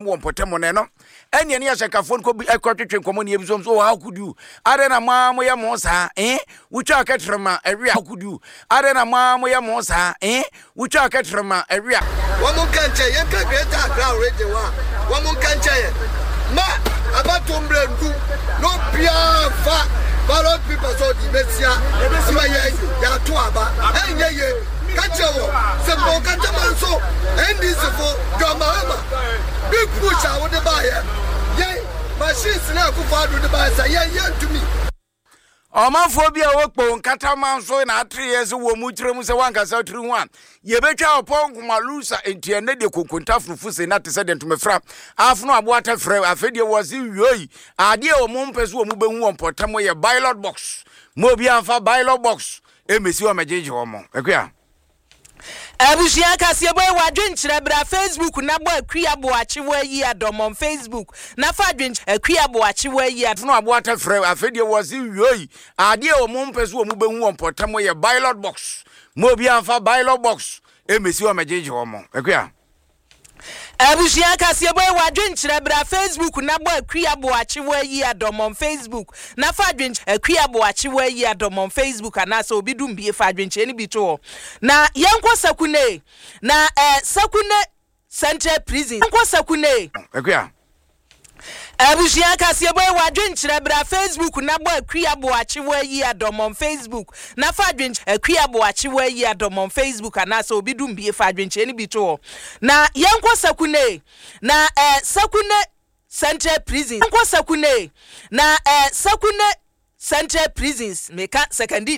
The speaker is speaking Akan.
Wɔ mpɔtam no ɛno ɛne ɛne ahyɛnkafoɔ no kɔbi ɛkɔtwetwe nkɔmmɔ ne ebisom so how could you adɛn na mo ara moyɛ mo saa eh wotwa kɛtrɛma ɛwe a how could you adɛn na mo ara moyɛ mo saa eh wotwa kɛtrɛma ɛwe a. Wɔn nka nkyɛ yɛn ka Greater Accra Region hɔ a wɔn nka nkyɛ yɛn ma abatoɔ mmerɛ ndu na obiara nfa ballot paper sɛ ɔde bɛsia ma yɛn yɛato aba ɛnyɛ yie ka kyerɛ wɔn sɛ Bɔnkatama nso NDC fo John Mahama Big push a wode baeɛ yɛn machines na Akufo Addo de baeɛ sɛ yɛn yɛntumi. Ɔmanfoɔ bi a wɔwɔ Kpong Nkataman so na atereɛ sɛ wɔn mu kyerɛ mu sɛ wankasa tiri ho a yɛbɛtwa ɔpɔ nkoma lusa nti ɛnɛ deɛ konkonta funufu se na te sɛ deɛ ntomafira afono aboa tɛfrɛ afei deɛ wɔ se wioi adeɛ a wɔn mpɛ so wɔn bɛhu wɔ mpɔtam yɛ ballot box mo obi amfa ballot box ɛmɛsi wɔn mɛgyegye wɔn akua. Abusua kaseɛbɔ yi w'adwenkyerɛ bra Facebook na bɔ Akua Boakye w'ayi adɔm on Facebook na fa adwenkyerɛ Akua Boakye w'ayi adɔm. Fono aboa tɛfrɛ afei deɛ wɔ se wioi adeɛ a wɔn mpɛ so wɔn bɛhu wɔ mpɔtam yɛ ballot box mo obi amfa ballot box ɛmɛsi hɔ mɛgyegye wɔn Akua. Abusua kaseɛbɔ yi w'adwenkyerɛ bra Facebook na bɔ Akua Boakye w'ayi adɔm on Facebook na fa adwenkyerɛ Akua Boakye w'ayi adɔm on Facebook anaasɛ obi dum bie fa adwenkyerɛ no bi to hɔ na yɛnkɔ Sakune na eh, Sakune Central Prison yɛnkɔ Sakune. Akua. Abusua kaseɛbɔ yi w'adwenkyerɛ bra Facebook na bɔ Akua Boakye w'ayi adɔm on Facebook na fa adwenkyerɛ Akua Boakye w'ayi adɔm on Facebook anaasɛ obi dum bie fa adwenkyerɛ no bi to hɔ na yɛnkɔ Sakune na eh, Sakune Central Prison yɛnkɔ Sakune na eh, Sakune Central Prisons meka Sekandi.